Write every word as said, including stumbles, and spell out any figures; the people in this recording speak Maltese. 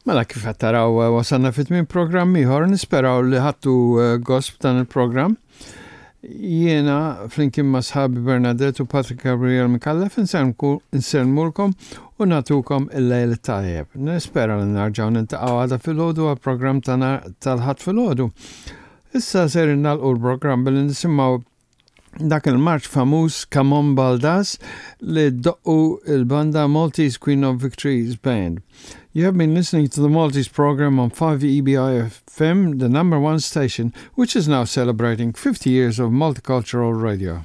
Mela kif qed taraw eh, wasalna fit tmiem programm ieħor, nisperaw li ħadtu eh, gost b'dan il-programm. Jiena flimkien ma' sħabi Bernadette u Patrick Gabriel Micallef insellmulkom u nagħtukom il-lejl tajjeb. Nispera li nerġgħu niltaqgħu għada filgħodu għal-programm tal-Ħadd filgħodu. Issa ser nagħlqu l-programm billi nisimgħu dak il-marċ famuż Come On Baldas li doqqu il-banda Maltese Queen of Victories Band. You have been listening to the Maltese program on five E B I F M, the number one station, which is now celebrating fifty years of multicultural radio.